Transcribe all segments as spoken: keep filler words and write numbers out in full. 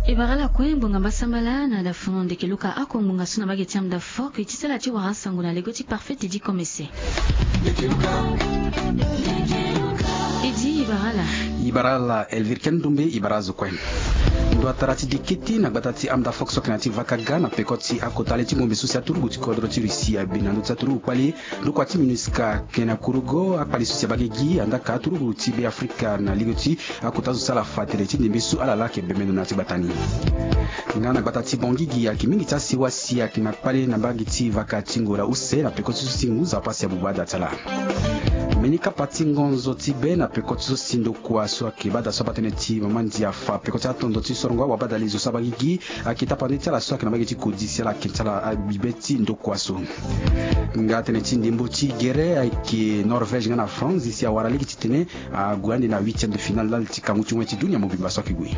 E bara ala kue ngbonga mbasambala na dafono ndeke luka ako ngbonga so na mbage ti amda fok e ti sala ti wara sango na lego ti parfait ti di komese. E di e bara ala. E bara ala elvire ken ndombe e bara azo kue. Ndo atara ti dekete na gbata ti amda fok so ayeke na ya ti vakaga na peko ti akota le ti ngombe so si aturugu ti kodro ti russie abi na ndö ti aturugu kpali. Ndokua ti minusca ayeke na kurugo akpali so si abagegi andaa ka aturugu ti be afrika na lege ti akota zo so ala fa tene ti ndembe so ala laa ayeke bembe ndo na ya ti gbata ni. Nga na gbata ti bangigi ayeke mingi ti asewa si ayeke na kpale na mbage ti vaka ti ngola use na peko ti so si ngu zapasi abuba ada ti ala. Mbeni kapa ti ngonzo ti be na peko ti so si ndokua so ayeke bada so aba tënë ti mama ndia afa peko ti atondo ti sorongo awabadali zo so abagigi. Ayeke tapande ti ala so ayeke na mbage ti kodi si ala yeke ti ala abi be ti ndokua so. Nga tënë ti ndembo ti gere ayeke norvège nga na france si awara lege titene ague ande na huitième de finale lali ti kangu ti wen ti dunia mobimba so ayeke gue.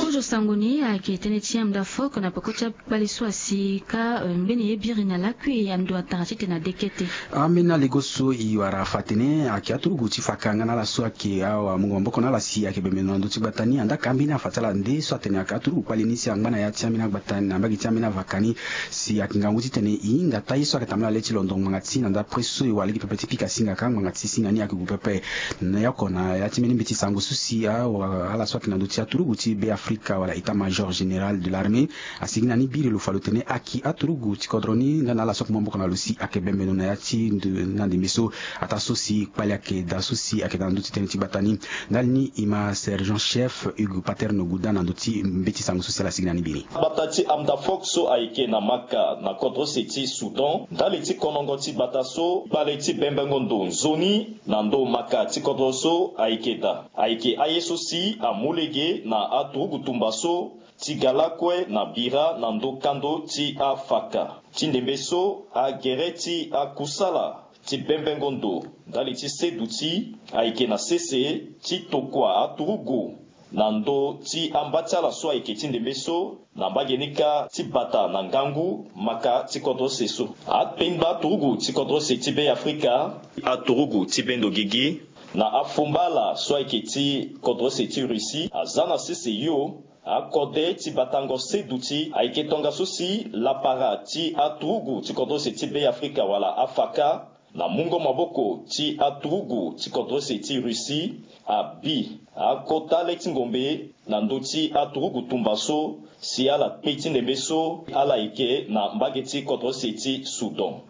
Kozo sango ni ayeke tënë ti amda fok na peko ti akpali so asi ka mbeni ye biri na lakui ando atara titene adekete. Ambeni alego so e wara afa atene ayeke aturugu ti faka nga na ala so ayeke awamungo maboko na ala si ayeke bembe na ndö ti gbata ni andaa ka ambeni afa ti ala nde so atene ayeke aturugu kpali ni si angba na ya ti ambeni agbata ni na mbage ti ambeni avaka ni. Si ayeke ngangu titene e hinga taa ye so ayeke tambula na le ti londo ngbanga ti na ndapre so e wara lege pepe ti pika singa ka ngbanga ti singa ni ayeke gue pepe. Na ya oko na ya ti mbeni mbeti sango so si awa ala so ayeke na ndö ti aturugu ti be afrika wala état major général de l'armée asigi na ni biri lo fa lo tene ayeke aturugu ti kodro ni nga na ala so ayeke mu maboko na lo si ayeke bembe ndo na ya ti ndo na ndembe so. Ataa so si kpali ayeke daa so si ayeke daa na ndö ti tënë ti gbata ni. Ndali ni e ma sergent chef hugues paterne guda na ndö ti mbeti sango so si ala sigi na ni biri. Gbata ti amda fok so ayeke na maka na kodro se ti soudan ndali ti konongo ti gbata so kpale ti bembengo ndo nzoni na ndo maka ti kodro so ayeke daa. Ayeke aye so si amu lege na aturugu tumba so ti ga lakue na bira na ndo kando ti afaka ti ndembe so agere ti akusala ti bembengo ndo ndali ti seduti ayeke na sese ti tokua aturugu na ndö ti amba ti ala so ayeke ti ndembe so na mbage ni kâ ti bata na ngangu maka ti kodro se so. Apengba aturugu ti kodro se ti be afrika aturugu ti bendo gigi na afomba ala so ayeke ti kodro se ti russie aza na sese yo. Akode ti batango seduti ayeke tongaso si lapara ti aturugu ti kodro se ti be afrika wala afaka na mungo maboko ti aturugu ti kodro se ti russie abi akota le ti ngombe na ndö ti aturugu tumba so si ala kpe ti ndembe so ala yeke na mbage ti kodro se ti soudan.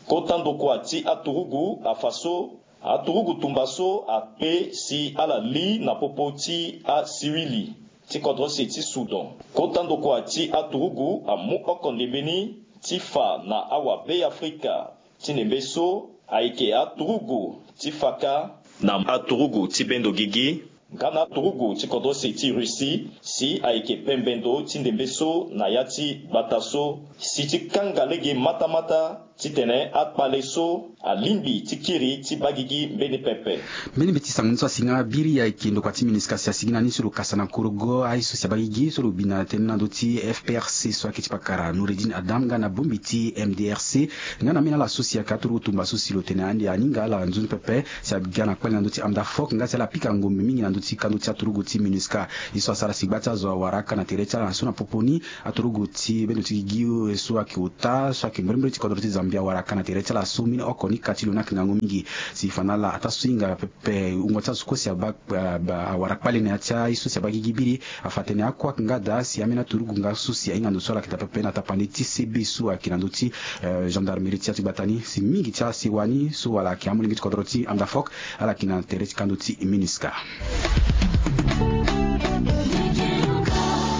Kota ndokua ti aturugu afa so aturugu tumba so akpe si ala li na popo ti asiwili ti kodro se ti soudan. Kota ndokua ti aturugu amu oko ndembe ni ti fa na awabeafrika ti ndembe so ayeke aturugu ti faka na aturugu ti bendo gigi nga na aturugu ti kodro se ti russie si ayeke pembe ndo ti ndembe so na ya ti gbata so si ti kanga lege matamata titene akpale so alingbi ti kiri ti bagigi mbeni pepe. Mbeni mbeti sango ni so asi nga biri ayeke ndokua ti minusca si asigi na ni so lo kasa na kurugo aye so si abagigi so lo bi na tënë na ndö ti fprc so ayeke ti pakara noureddine adam nga na bongbi ti mdrc nga na ambeni ala so si ayeke aturugu tumba so si lo tene ande aninga ala nzoni pepe si aga na kpale na ndö ti amda fok nga si ala pika ngombe mingi na ndö ti kando ti aturugu ti minusca. Ye so asara si gba ti azo awara aka na tere ti ala na so na popo ni aturugu ti bendo ti gigi so ayeke ota so ayeke mbrimbri ti kodro ti zambia awara aka na tere ti ala so mbeni oko ni ka ti lo ni ayeke ngangu mingi. Si fa na ala ataa so hinga pepe wungo ti azo kue si aba awara kpale na ya ti aye so si aba gigi biri. Afa tene akue ayeke nga daa si ambeni aturugu nga so si ahinga ndo so ala yeke daa pepe na tapande ti cb so ayeke na ndö ti gendarmerie ti ya ti gbata ni si mingi ti asewa ni so wala ayeke amolenge ti kodro ti amda fok. Ala yeke na tere ti kando ti minusca.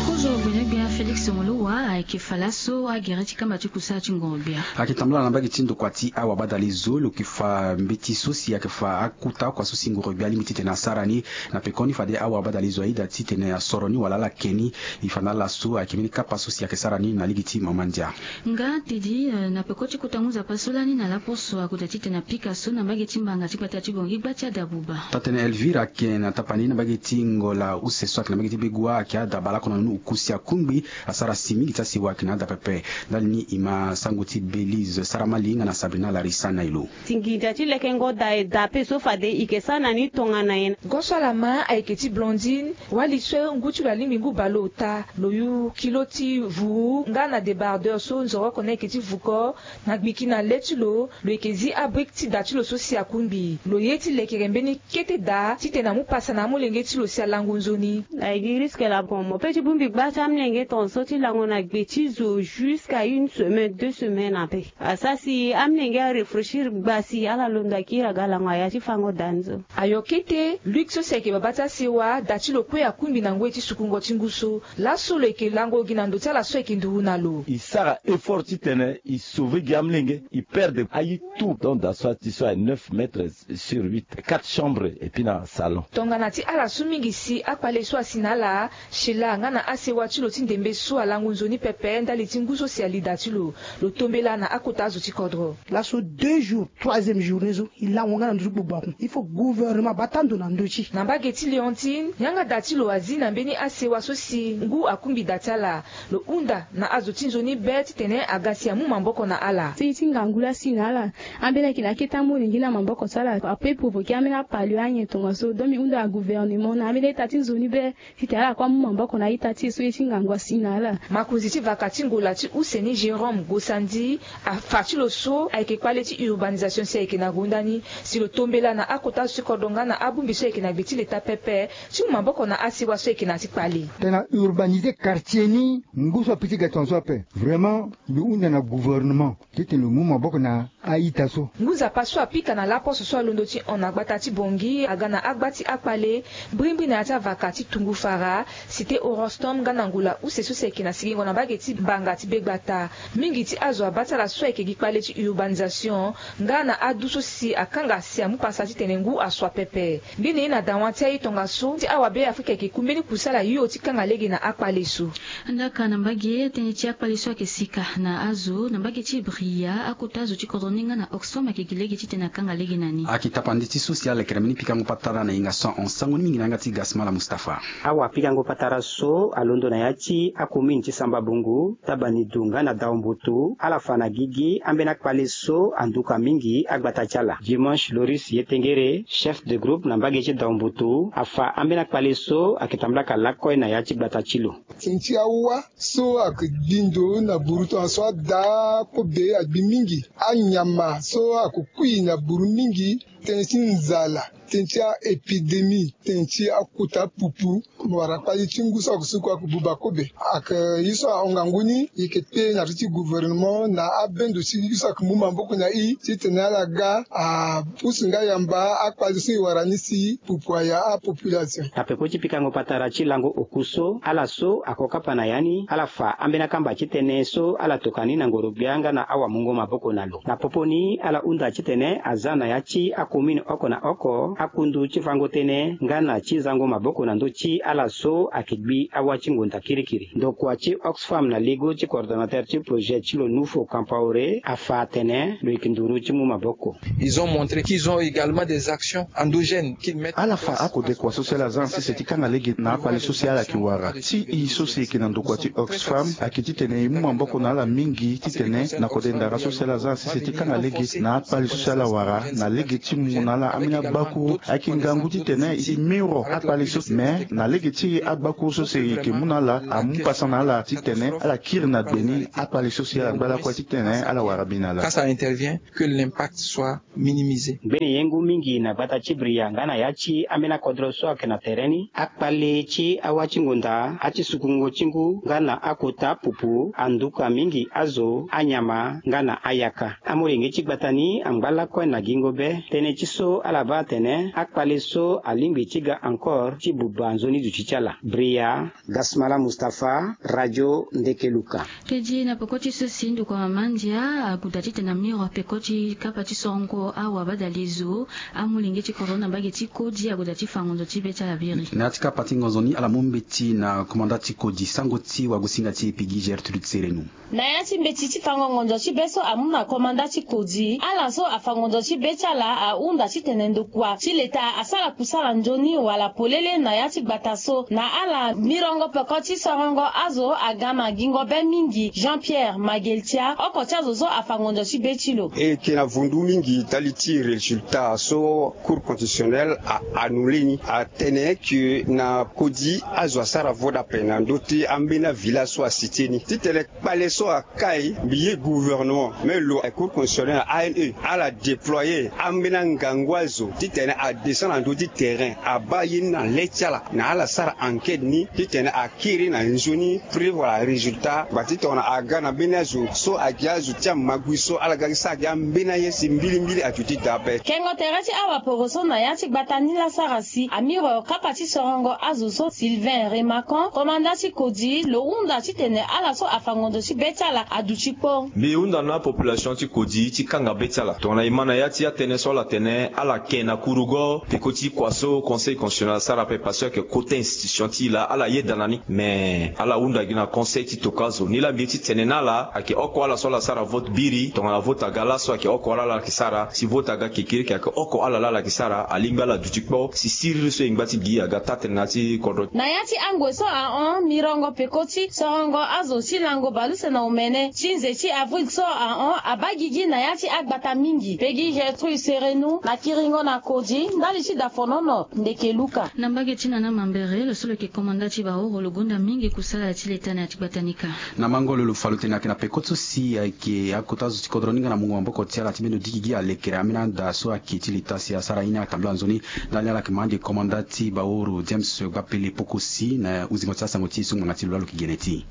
Kozo gbenegbia félix molowa ayeke fa laso agere ti kamba ti kusala ti ngoro-gbia. Ayeke tambula na mbage ti ndokua ti awabadali zo lo yeke fa mbeti so si ayeke fa akuta oko aso si ngoro-gbia alingbi titene asara ni. Na pekoni fade awabadali zo aye daa titene asoro ni wala ala ke ni. E fa na ala so ayeke mbeni kapa so si ayeke sara ni na lege ti mama ndia. Nga tedi na peko ti kota ngu nzapa so lani na laposo akoda titene apika so na mbage ti mbanga ti gbata ti bongi gba ti adabuba. Tatene elvire ayeke na tapani na mbage ti ngola use so ayeke na mbage ti begua ayeke adabala oko na nunu ukusi akungbi. Asara si mingi ti Ti waki na ada pepe. Ndali ni e ma sango ti Belize Saramali nga na Sabrina Larissa na e lo. Ti nginza ti lekengo da e da pe so fade e yeke sara na ni tongana nyen? Goso ala ma ayeke ti Blondine, wali so ngu ti lo alingbi ngu baleota. Lo yu kilo ti vuru nga na débardeur so nzoroko ni ayeke ti vuko. Na gbiki na le ti lo, lo yeke zi abrike ti da ti lo so si akungbi. Lo ye ti lekere mbeni kete da titene amu pasa na amolenge ti lo si alango nzoni. Aye gi risque la bon mo pe ti bongbi gba ti amolenge tongaso ti lango na gbe ti zo jusqu'à une semaine, deux semaines ape. Asara si amolenge arefrechir gba si ala londo akiri aga lango na ya ti fango da ni so. Ayo kete Luc so si ayeke babâ ti asewa, da ti lo kue akungbi na ngoi ti sukungo ti ngu so. Laso lo yeke lango gi na ndo ti ala so ayeke nduru na lo. E sara effort titene e sauver gi amolenge, e perdre aye tout. Donc da so ati so aye neuf mètres sur huit, quatre chambres et puis na salon. Tongana ti ala so mingi si akpale so asi na ala, Sheila nga na asewa ti lo ti ndembe so alango nzoni pepe ndali ti ngu so si ali da ti lo. Lo tombela na akota azo ti kodro. Laso deux jours, troisième journée so e lango nga na ndö ti gbogbo akun. Il faut gouvernement abata ndo na ndö ti e. Na mbage ti Léontine, yanga da ti lo azi na mbeni asewa so si ngu akungbi da ti ala. Lo hunda na azo ti nzoni be titene aga si amu maboko na ala. Ti ti ngangu laa si na ala. Ambeni ayeke na akete amolenge na maboko ti ala ape provoquer ambeni apalio anyen tongaso. Donc mbi hunda na gouvernement na ambeni aita ti nzoni be titene ala kue amu maboko na aita ti e so ye ti ngangu asi na ala. Makonzi ti vaka ti ngola ti use ni Jérôme Gosandi afa ti lo so ayeke kpale ti urbanisation si ayeke na gonda ni. Si lo tombela na akota zo ti kodro nga na abongbi so ayeke na gbe ti leta pepe ti mu maboko na asewa so ayeke na ya ti kpale. Tena urbaniser quartier ni ngu so ape ti ga tongaso ape. Vraiment mbi hunda na gouvernement titene lo mu maboko na aita so. Ngu nzapa so apika na laposo so alondo ti hon na gbata ti Bangui aga na agba ti akpale brimbri na ya ti avaka ti Tungufara, cité Orostom nga na ngola use so si ayeke na sigingo na mbage ti banga ti begbata. Mingi ti azo abâ ti ala so ayeke gi kpale ti urbanisation nga na adu so si akanga si amu pasa titene ngu asua pepe. Ngbene ye na dawa ti aye tongaso ti awabe Afrika ayeke ku mbeni kusala hio ti kanga lege na akpale so. Ndaka na mbage tënë ti akpale so ayeke sika na azo na mbage ti Bria, akota azo ti kodro ni nga na Oxfam ayeke gi lege titene akanga lege na ni. Ayeke tapandi ti so si alekere mbeni pikango patara na hinga so ahon sango ni mingi na yanga ti Gasmala Mustapha. Awapikango patara so alondo na ya ti acommune ti Samba Bongo, Tabanidu nga na Daombutu ala fa na gigi ambeni akpale so anduka mingi agbata ti ala. Dimanche Loris Yetengere, chef de groupe na mbage ti Daombutu, afa ambeni akpale so ayeke tambula ka lakue na ya ti gbata ti lo. Tënë ti awa so ayeke gbi ndo na buru tongaso ada kobe agbi mingi. Anyama so ayeke kui na buru mingi. Tënë ti nzala, tënë ti a-épidémie, tënë ti akota pupu. Mo wara kpali ti ngu so ayeke suku ayeke buba kobe. Ayeke ye so ahon ngangu ni, e yeke pe na ti gouvernement na abendo ti ye so ayeke mu maboko na e titene ala ga apusu nga yamba akpali so e wara ni si pupu aya apopulation. Na peko ti pikango patara ti lango oku so ala so ako kapa na ya ni ala fa ambeni akamba ti tënë so ala toka ni na ngoro-gbia nga na awamungo maboko na lo. Na popo ni ala hunda titene aza na ya ti acommune oko na oko akundu ti fango tënë nga na ti zango maboko na ndö ti ala so ayeke gbi awa ti ngonda kirikiri. Ndokua ti Oxfam na lego ti coordonnateur ti projet ti lo Nufo Kampaore afa atene lo yeke nduru ti mu maboko. Ils ont montré qu'ils ont également des actions endogènes qu'ils mettent en place. Ala fa akodekua so si ala za na sese ti kanga lege na akpale so si ala yeke wara. Ti e so si e yeke na ndokua ti Oxfam ayeke titene e mu maboko na ala mingi titene na kode ndara so si ala za na sese ti kanga lege na akpale so si ala wara na lege ti mu na ala ambeni agbakuru. Ayeke ngangu titene e miro akpale so, me na lege ti agbakuru so si e yeke mu na ala amu pasa na ala titene ala kiri na gbe ni akpale so si ala ngba lakue titene ala wara bi na ala. Quand ça intervient, que l'impact soit minimisé. Ngbene ye ngu mingi na gbata ti Bria nga na ya ti ambeni akodro so ayeke na tere ni, akpale ti awa ti ngonda, ati sukungo ti ngu nga na akota pupu, anduka mingi azo, anyama nga na ayaka. Amolenge ti gbata ni angba lakue na gingo be tënë ti so ala baa atene akpale so alingbi ti ga encore ti buba nzoni duti ti ala. Bria, Gasmala Mustapha, Radio Ndekeluka. Kedi na peko ti so si ndokua mama ndia agoda titene amiro peko ti kapa ti sorongo awa badalezo, amolenge ti kodro na mbage ti kodi agoda ti fa ngonzo ti be ti ala biri. Na ya ti kapa ti ngonzo ni ala mu mbeti na komanda ti kodi sango ti wagosinga ti e Pigi Gertrude Serenu. Na ya ti mbeti ti fango ngonzo ti be so amu na komanda ti kodi, ala so afa ngonzo ti be ti ala ahunda titene ndokua ti Leta asara kusala nzoni wala polele na ya ti gbata so na ala mirongo peko ti sorongo azo aga na gingo be mingi. Jean Pierre Mageltia, oko ti azo so afa ngonzo ti be ti lo. E yeke na vundu mingi ndali ti résultat so Cour constitutionnelle a annulé ni, atene que na kodi azo asara vote ape na ndö ti ambeni avillage so a cité ni titene kpale so akai mbi ye gouvernement me lo Cour constitutionnelle na A N E ala déployer ambeni angangu azo titene adescend na ndö ti terrain, abaa ye ni na le ti ala na ala sara enquête ni titene akiri na nzoni preuve wala résultat. Ngba ti tongana aga na mbeni azo so agi azo ti amagui so ala ga gi sara gi ambeni aye si mbilimbili aduti daa ape. Kengo tere ti awaporo so na ya ti gbata ni la sara si amiro kapa ti sorongo azo so Sylvain Remacan, komanda ti kodi, lo hunda titene ala so afa ngonzo ti be ti ala aduti kpo. Mbi hunda na apopulation ti kodi ti kanga be ti ala tongana e ma na ya ti atënë so ala tene ala ke na kurugo peko ti kua so Conseil constitutionnel asara ape parce que ayeke kota institution ti e laa ala yeda na ni. Mais ala hunda gi na conseil ti tokua azo ni laa mbi ye ti tene na ala ayeke oko ala so ala sara vote biri tongana vote aga laso ayeke oko ala ala yeke sara si vote aga kekereke ayeke oko ala laa ala yeke sara alingbi ala duti kpo si siriri so e ngba ti gi aga taa-tënë na ya ti kodro. Na ya ti angoi so ahon mirongo peko ti sorongo azo ti lango baleuse na omene ti nze ti avril so ahon abaa gigi na ya ti agbata mingi. Pegi Gertrude Serenu na kiringo na kodi ndali ti dafonono ndeke luka. Na mbage ti nana mambere lo so lo yeke komanda ti baoro lo gonda mingi kusala ti leta na ya ti gbata ni kâ. Na mango lo lo fa lo tene ayeke na peko so si ayeke akota zo ti kodro ni nga na mungo maboko ti ala ti mbeni lo diki gi alekere ambeni anda so ayeke ti leta si asara ye ni atambula nzoni. Ndali ni ala yeke ma ande komanda ti baoro James Gbapele Pokosi na uzingo ti asango ti e so ngbanga ti lo laa lo yeke gene ti e.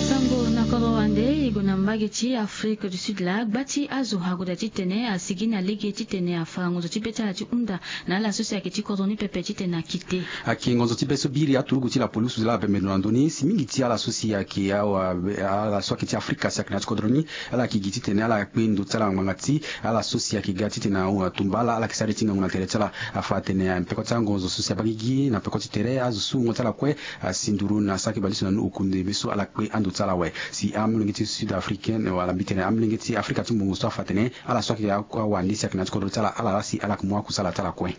Sango na kodro wande e gue na mbage ti Afrique du Sud laa gba ti azo agoda titene asigi na lege titene afa ngonzo ti be ti ala ti hunda na ala so si ayeke ti kodro ni pepe titene akite. Ayeke ngonzo ti be so biri aturugu ti la police laa abembe ndo na ndö ni si mingi ti ala so si ayeke awa ala so ayeke ti Afrika si ayeke na ya ti kodro ni ala yeke gi titene ala kpe ndo ti ala na ngbanga ti ala so si ayeke ga titene atumba ala ala yeke sara ye ti ngangu na tere ti ala. Afa atene peko ti angonzo so si abaa gigi na peko ti tere azo so wungo ti ala kue asi nduru na saki baleuse na ni oku ndembe so ala kpe ando ti ala awe. Si amolenge ti sud africaine wala mbi tene amolenge ti Afrika ti mbongo so afa atene ala so ayeke awande si ayeke na ya ti kodro ti ala ala laa si ala yeke mu akusala ti ala kue.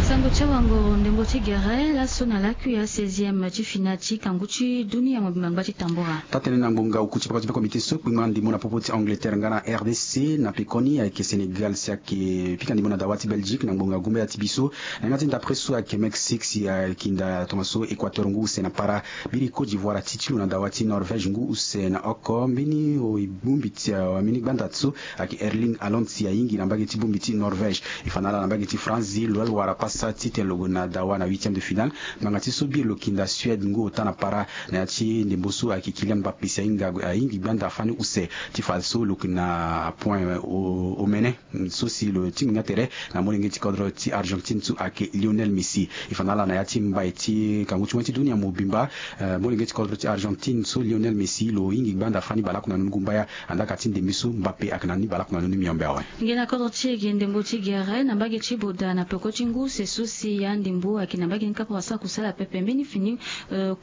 Sango ti awangoro ndembo ti gere laso na lakui ya seizième ti finale ti kangu ti dunia mobimba ngba ti tambura. Taa-tënë na ngbonga oku ti peko ti be komite so kpengba ndembo na popo ti Angleterre nga na R D C na pekoni ayeke Sénégal si ayeke pika ndembo na dawa ti Belgique na ngbonga gumbaya ti biso. Na yanga ti ndapre so ayeke Mexique si ayeke hinda tongaso Équateur ngu use na para. Biri Côte d'Ivoire ati ti lo na dawa ti Norvège ngu use na oko. Mbeni bongbi ti ambeni gbanda so ayeke Erling Haaland si ahingi na mbage ti bongbi ti Norvège. E fa na ala na mbage ti France lo wara pasa titene lo gue na dawa na huitième de finale. Ngbanga ti so biri lo yeke hinda Suède ngu ota na para. Na ya ti ndembo so ayeke Kylian Mbappé si ahinga ahingi gbanda fani use ti fa so lo yeke na point omene. So si lo tingbi nga tere na molenge ti kodro ti Argentine so ayeke Lionel Messi. E fa na ala na ya ti mbai ti kangu ti wen ti dunia mobimba. Molenge ti kodro ti Argentine so Lionel Messi lo hingi gbanda fani balaku na nunu gumbaya. Andaka ti ndembe so Mbappé ayeke na ni balaku na nunu miombe awe. Nge na kodro ti e gi ndembo ti gere na mbage ti Boda na peko ti ngu se so si ya ndembo ayeke na mbage ni kapa wasa kusala pepe mbeni fini.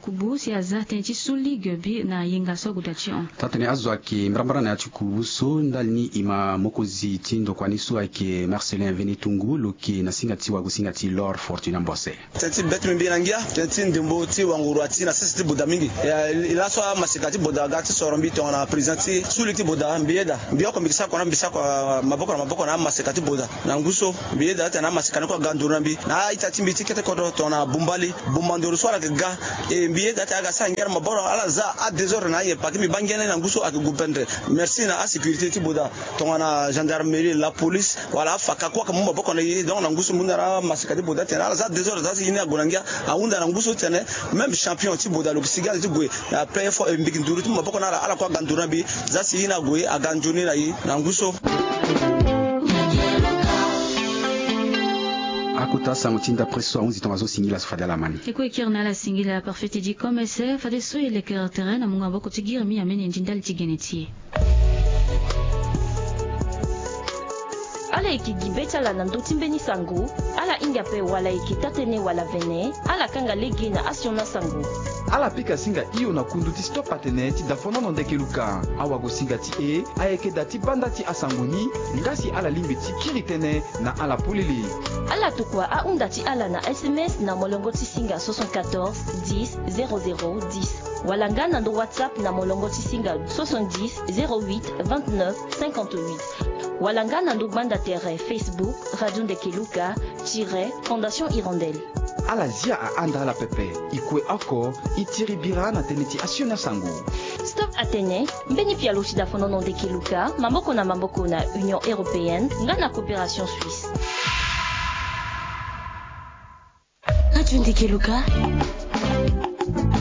Kubu si aza tënë ti so ligue bi na yenga so agoda ti hon. Taa-tënë azo ayeke mbarambara na ya ti kubu so ndali ni e ma mokonzi ti ndokua ni so ayeke Marcelin Venetungu lo yeke na singa ti wagosinga ti Lor Fortuna Mbose. Tënë ti be ti mbi mbi na ngia tënë ti ndembo ti wanguru ati na sese ti Boda mingi. E laso amaseka ti Boda aga ti soro mbi tongana président ti so ligue ti Boda mbi yeda mbi oko mbi yeke sara kua na mbi sara kua maboko na maboko na amaseka ti Boda. Na ngu so mbi yeda atene amaseka ni kue aga nduru na mbi na a-ita ti mbi ti kete kodro tongana bumbali bumba nduru so ala yeke ga. E mbi yeda atene aga sara ngia na maboko ala za adésordre na aye paki mbi baa ngia ni na ngu so ayeke gouvernere. Merci na asécurité ti Boda tongana gendarmerie, la police wala afaka kue ayeke mu maboko na e. Donc na ngu so mbi hunda na amaseka ti Boda atene ala za désordre za si ye ni ague na ngia. Ahunda na ngu so titene même champion ti Boda lo yeke sigi ala ti gue na plein effort e mbi yeke nduru ti mu maboko na ala ala kue aga nduru na mbi. Za si ye ni ague aga nzoni na e na ngu so. Akota sango ti ndapre so ahunzi tongaso singila so fade ala ma ni. E kue e kiri na ala singila parfait ti di commerce fadeso e lekere tere na mungo maboko ti giri mi amene ndi ndali ti gene ti e. Ala yeke gi be ti ala na ndö ti mbeni sango. Ala hinga ape wala e yeke taa-tënë wala vene. Ala kanga lege na asioni asango. Ala pika singa hio na kundu ti Stop Atene ti dafonono Ndeke Luka. Awagosinga ti e ayeke da ti banda ti asango ni. Nga si ala lingbi ti kiri tënë na ala polele. Ala tokua ahunda ti ala na S M S na molongo ti singa soixante-quatorze dix zéro zéro dix, wala nga na ndo WhatsApp na molongo ti singa soixante-dix zéro huit vingt-neuf cinquante-huit, wala nga na ndo gbanda tere Facebook Radio Ndeke Luka tiret Fondation Hirondelle. Ala zia ahanda ala pepe. E kue oko, e tiri bira na tënë ti asioni asango. Stop Atene, mbeni pialo ti dafonono Ndeke Luka, maboko na maboko na Union Européenne nga na Coopération Suisse. Radio Ndeke Luka.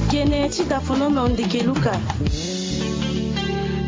Gene ti dafonono Ndeke Luka.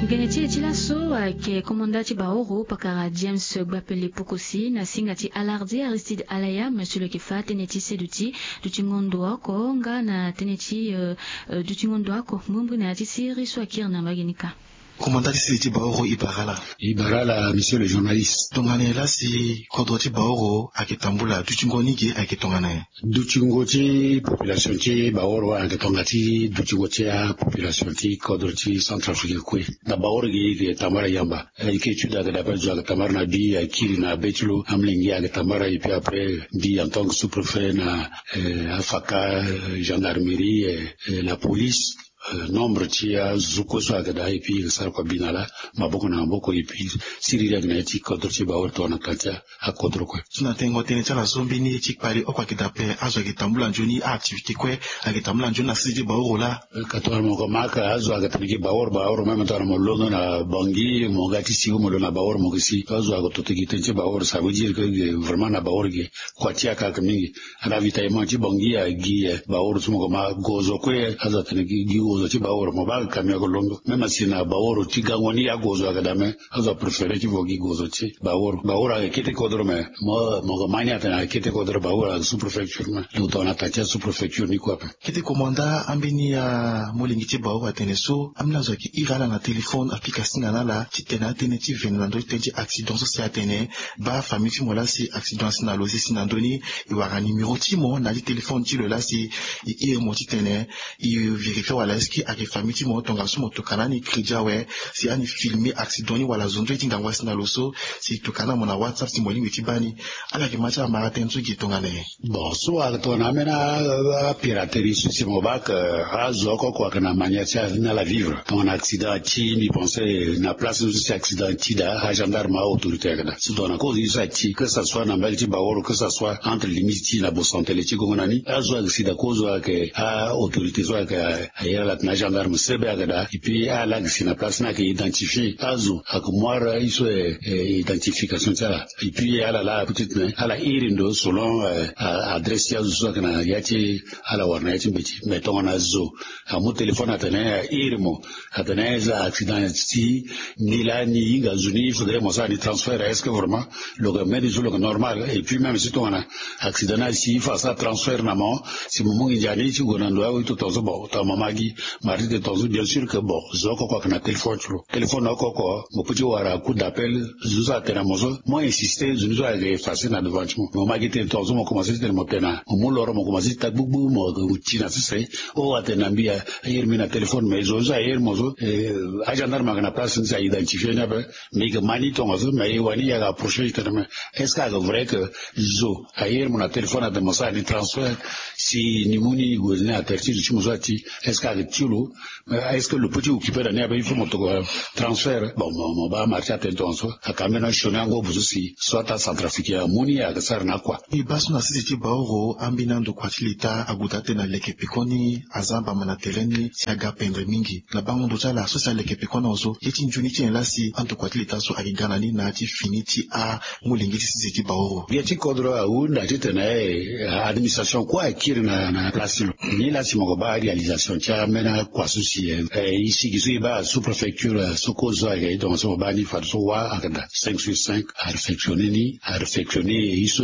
Gene ti e ti laso ayeke komanda ti baoro pakara James Gbapele Pokosi na singa ti Alardi Aristide Alaya, monsieur le kefa tënë ti seduti dutingo ndo oko nga na tënë ti, euh, euh, dutingo ndo oko. Mbirimbiri na ya ti siriri so akiri na mbage ni ka. Komanda ti sese ti baoro, e bara ala. E bara ala, monsieur le journaliste. Tongana nyen la si kodro ti baoro ayeke tambula? Dutingo ni ge ayeke tongana nyen? Dutingo ti population ti baoro ayeke tongana ti dutingo ti apopulation ti kodro ti Centrafrique kue. Na baoro ge e yeke tambara yamba. Eh, e ke étude ayeke daa ape, zo ayeke tambara na bi, akiri na be ti lo, amolenge ayeke tambara, et puis après, mbi en tant que sous-préfet na, eh, afaka, eh, gendarmerie, eh, eh, la police, eh, nombre ti azo kue so ayeke daa, et puis e sara kua bi na ala, maboko na maboko, et puis siriri ayeke na ya ti kodro ti baoro tongana tanga ti akodro kue. So na tengo tënë ti ala so, mbeni ti kpale oko ayeke daa ape, azo ayeke tambula nzoni, a-activité kue ayeke tambula nzoni na sese ti baoro laa. Ka tongana mo ko ma aka azo ayeke tene gi baoro, baoro même tongana mo londo na Bangui, mo ga ti si, mo londo na baoro mo ke si. Azo ayeke toto gi tënë ti baoro, ça veut dire que vraiment na baoro ge kua ti aka ayeke mingi. Ravitaillement ti Bangui agi, eh, baoro so mo ko ma gozo kue, azo atene gi, gi gozo ti baoro, mo baa camion ayeke londo. Même si na baoro ti gango ni agozo ayeke daa, mais azo apréféré ti vo gi gozo ti baoro. Baoro ayeke kete kodro, mais mo, mo ko ma ni atene ayeke kete kodro, baoro ayeke sous-préfecture, mais lo tongana tanga ti asous-préfecture ni kue ape. Kete komanda, ambeni amolenge ti baoro atene so, ambeni azo ayeke iri ala na téléphone, apika singa na ala titene atënë ti vene na ndö ti tënë ti accident so si atene baa famille ti mo laa si accident asi na lo, si si na ndö ni, e wara numéro ti mo na ya ti téléphone ti lo laa si e iri mo titene e vérifier wala est-ce que ayeke famille ti mo, tongaso mo tokana ani crédit awe, si ani filmer accident ni wala zo nzoni ti ngangu asi na lo so, si e tokana mo na WhatsApp si mo lingbi ti baa ni. Ala yeke ma ti amara tënë so gi tongana nyen? Bon, so ayeke tongana ambeni a, a, apiraterie so si mo baa ke azo oko oko ayeke na manière ti ala ni ala vivre. Tongana accident ati, mbi pense na place ni so si accident ati daa, agendarme, aautorité ayeke daa. So tongana kozo ni so ati, que ça soit na mbage ti baoro, que ça soit entre limite ti na Bosantele ti gongo na ni, azo ayeke si daa kozo ayeke aautorité so ayeke, a, a iri ala titene agendarme sebe ayeke daa. Et puis ala yeke si na place ni ayeke identifier azo, ayeke mu ara ye so, eh, eh, identification ti ala. Et puis ala laa peut-être, mais ala iri ndo selon, euh, a-, adresse ti azo so ayeke na ya ti ala wara na ya ti mbeti. Mais tongana zo amu téléphone atene airi mo, atene accident ti ni laa ni hinga zo ni, il faudrait mo sara ni transfert. Est-ce que vraiment lo yeke mbeni zo lo yeke normal? Et puis même si tongana accident ni asi, il faut asara transfert na mo, si mo mu nginza ni ti gue na ndo awe ti tongaso so, bon, tongana mo ma gi, mo arrêter tongaso so, bien sûr que, bon, zo oko oko ayeke na téléphone ti lo. Téléphone oko oko mo peut ti wara coup d'appel, zo so atene na mo so, mo insister, zo ni so ayeke effacer na devant ti mo. Mo ma gi tene tongaso so mo commencer ti tene mo tene na, mo mu loro mo commencer ti ta gbugbu, mo ti na sese. Oh, atene na mbi, a, airi mbi na téléphone, mais zo ni so airi mo so, eh, agendarme ayeke na place ni si a-identifier ni ape. Mais e yeke ma ni tongaso, mais e wani e yeke approcher ti tene, mais est-ce que ayeke vrai que zo airi mo na téléphone atene mo sara ni transfert, si ni mu ni gue ni na territoire ti mo so ati, est-ce que ayeke ti lo? Mais est-ce que lo peut ti occuper na ni ape, il faut mo tokua transfert? Bon, mo, mo baa marché atene tongaso, ayeke ambeni asioni angobo so si soit acentrafricain amu ni ayeke sara na kua. E baa so na sese ti baoro, ambeni andokua ti leta ague daa tene na leke pekoni aza mbamba na tere ni si aga pendre mingi. Na bango ndo ti ala so si aleke pekoni na zo, ye ti nzoni ti nyen laa si andokua ti leta so ayeke ga na ni na ya ti fini ti amolenge ti sese ti baoro? Gbia ti kodro ahunda titene, eh, administration kue akiri na, na place ti lo. Ni laa si mo yeke baa réalisation ti a Ambeni akua so si e sigi so e baa sous préfecture so kozo ayeke e tongaso mo baa ni fadeso wa ayeke daa cinq sur cinq. A réfectionner ni a réfectionner e so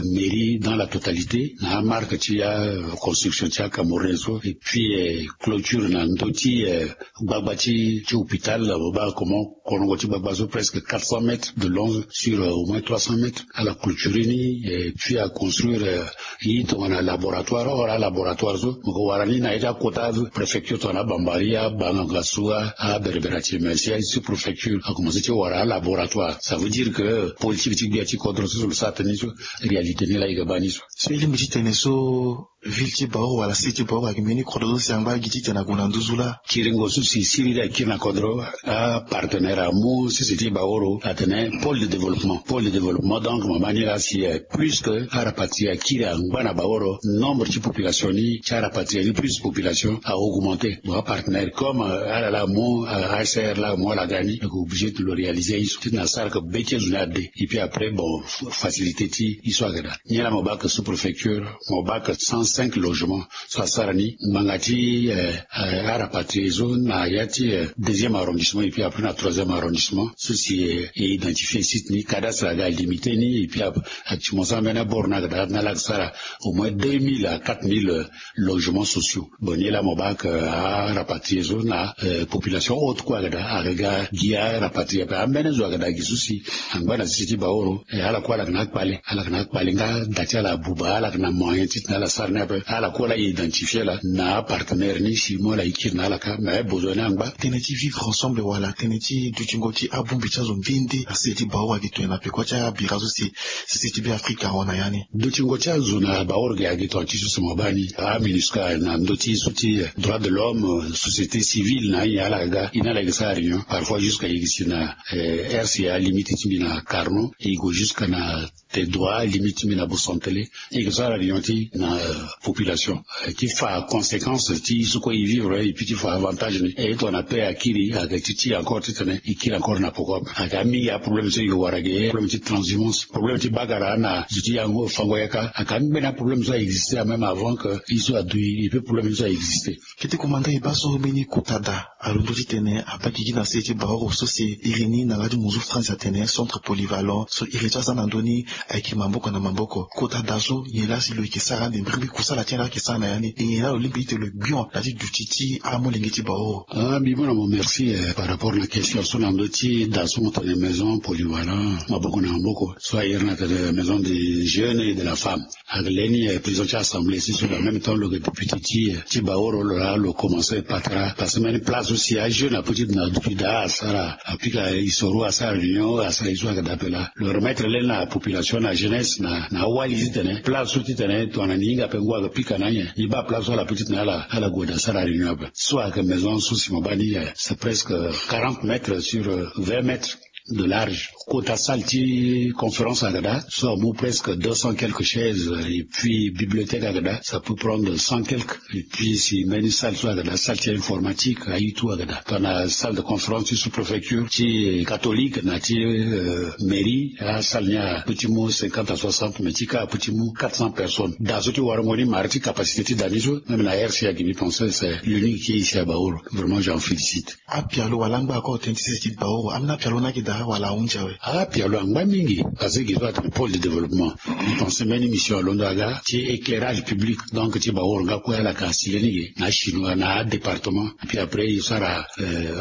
mairie dans la totalité na amarque ti aconstruction ti acamerounais so et puis clôture na ndö ti gbagba ti hôpital mo baa comment. Kolongo ti gbagba so presque quatre cents mètres de long sur au moins trois cents mètres ala clôturer ni et puis aconstruire e tongana laboratoire or alaboratoire so mo ke wara ni na ye ti akota préfecture tongana abambari abanganga so aberebere ati mais si sous préfecture akomanse ti wara alaboratoire ça veut dire que politique ti gbia ti kodro so so lo sara tënë ni so réalité ni laa e ke baa ni so. So e lingbi ti tene so ville ti Baoro wala cité ti Baoro ayeke mbeni kodro so si angba gi titene ague na nduzu laa. Kiringo so si siriri akiri na kodro apartenaire amu sisi ti Baoro atene pôle de développement pôle de développement donc mama ni laa si plus que arapatrier akiri angba na Baoro nombre ti population ni ti arapatrier ni plus population a augmenter. Bon apartenaire comme ala laa amu ASR laa amu ala ga ni lo ke obligé ti lo réaliser ye so titene asara ke be ti azo ni ade. Et puis après bon facilité ti ye so ayeke daa. Nyen laa mo baa ke sous préfecture mo baa ke cent cinq logements so asara ni ngbanga ti arapatrier so na ya ti deuxième arrondissement et puis après na troisième arrondissement so si e identifier site ni cadastre aga limiter ni et puis actuellement so ambeni abord ni aga daa na ala sara au moins deux mille à quatre mille logements sociaux. Bon ni laa mo baa ke arapatrier so na population haute kue aga daa aga gi arapatrier ape ambeni zo aga daa gi so si angba na sisi ti Baoro. Ala kue ala yeke na akpale ala yeke na akpale nga da ti ala abuba ala yeke na moyen titene ala sara ni ape ala kue ala identifier ala na apartenaire ni si mo ala e kiri na ala kâ mais besoin ni angba. Tënë ti vivre ensemble wala tënë ti dutingo ti abongbi ti azo nde nde na sese ti Baoro ayeke tongana peko ti abira so si sese ti Beafrika ahon na ya ni. Dutingo ti azo na Baoro ge ayeke tongana ti so si mo baa ni aMINUSCA na ndö ti so ti droit de l'homme société civile na anyen ala ga e na ala yeke sara réunion parfois jusqu'à e yeke si na RCA limite ti mbi na Carnot e gue jusqu'à na te droit limite ti mbi na Bosantele. E yeke sara réunion ti na population ti fa conséquence ti so kue e vivre et puis ti fa avantage ni e tongana paix akiri ayeke ti ti encore titene e kiri encore na poko ape. Ayeke amingi aproblème so e yeke wara ge problème ti transhumance problème ti bagara na zo ti yango fango yaka ayeke ambeni aproblème so a existe même avant que e so adui e pe problème ni so a existe. Kete komanda e baa so mbeni kota da alondo titene abaa gigi na sese ti Baoro so si iri ni na laa ti muzu France atene centre polyvalent so iri ti aza na ndö ni ayeke maboko na maboko. Kota da so nyen laa si lo yeke sara ande mbirimbiri kusala ti nyen laa ayeke sara na ya ni e nyen laa lo lingbi ti tene lo gbion na ya ti duti ti amolenge ti Baoro. Ah mbi mu na mo merci par rapport na question so na ndö ti da so mo tene maison polyvalent maboko na maboko so a iri ni atene maison des jeunes et de la femme. Ayeke leni président ti assemblée si so en même temps lo yeke député ti ti Baoro lo laa lo commence patara parce que mbeni place so si ajeune apeut ti na duti daa asara apika histoire asara réunion asara ye so ayeke daa ape laa lo remettre leni na population na jeunesse na awali titene place so titene tongana ni hinga ape ngu ayeke pika na anyen ni baa place so ala peut titene ala ala gue daa asara réunion ape. So ayeke maison so si mo baa ni c'est presque quarante mètres sur vingt mètres de large. Kota salle ti conférence ayeke daa so amu presque deux cents quelques chaises et puis bibliothèque ayeke daa ça peut prendre cent quelques. Et puis si mbeni salle so ayeke daa salle ti informatique aye tout ayeke daa tongana salle de conférence ti sous-préfecture ti catholique na ti mairie asalle ni apeut ti mu cinquante à soixante mais ti kâ apeut ti mu quatre cents personnes. Da so ti warango ni mara ti capacité ti da ni so même na RCA gi mbi pense c'est l'unique qui est ici à Baoro. Vraiment j'en félicite. Apialo wala angba akor tënë ti sese ti Baoro ambeni apialo ni ayeke daa wala ahunzi awe? Apialo angba mingi parce que gi so atene pôle de développement. Mbi pense mbeni mission alondo aga ti éclairage public donc ti Baoro nga kue ala yeke asile ni ge na achinois na adépartement. Puis après e sara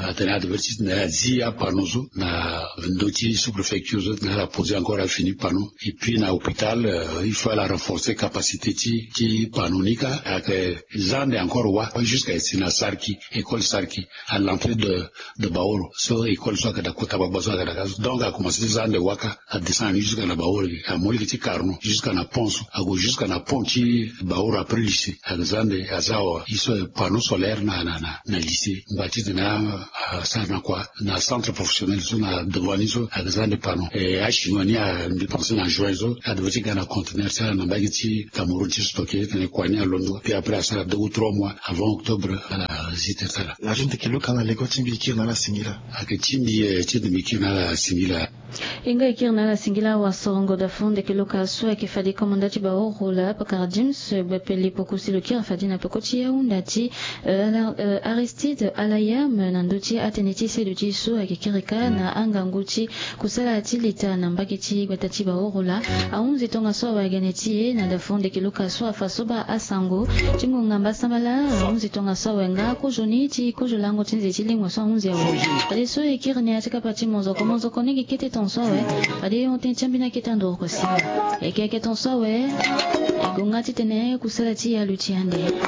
atene advertise na azi apanneau so na ndö ti sous-préfecture so na ala poser encore afini panneau. Et puis na hôpital il faut ala renforcer capacité ti ti panneau ni kâ ayeke za ande encore wa jusqu'à e si na Sarki école Sarki à l'entrée de de Baoro so école so ayeke daa kota gbagba so ayeke daa kâ so donc akomanse ti za ande waka adescend ni jusqu'à na Baoro ge amu lege ti Carnot jusqu'à na pont so ague jusqu'à na pont ti Baoro après lycée ayeke za ande aza awa ye so panneau solaire na na na lycée ngba titene asara na kua na centre professionnel so na devant ni so ayeke za ande panneau. E achinois ni a mbi pense na juin so adevait ti ga na conteneur ti ala na mbage ti Cameroun ti stocker titene kua ni alondo puis après asara deux ou trois mois avant octobre ala zi tere ti ala. Lajo ndeke luka na lego ti mbi kiri na ala singila. Ayeke ti mbi ti mbi kiri na ala singila. E nga e kiri na ala singila wasorongo dafu ndeke loka so ayeke fade komanda ti baorola pakara James Gbepeli poko si lo kiri fade na peko ti ahunda ti Aristide Alayam na ndö ti atënë ti sedo ti e so ayeke kiri kâ na angangu ti kusala ti lita na mbage ti gbata ti baorola. Ahunzi tongaso awe gene ti e na dafu ndeke loka so afa so baa asango ti ngonga mbasambala. Ahunzi tongaso awe nga kozo ni ti kozo lango ti nze ti lingua so ahunzi awe. Fadeso e kiri na ya ti kapa ti mozoko mozoko ni gi kete ton so awe. Fade e hon tënë ti ambeni akete andoro kua si awe. Eke eke ton so awe. E gonga titene kusala ti e aluti ande.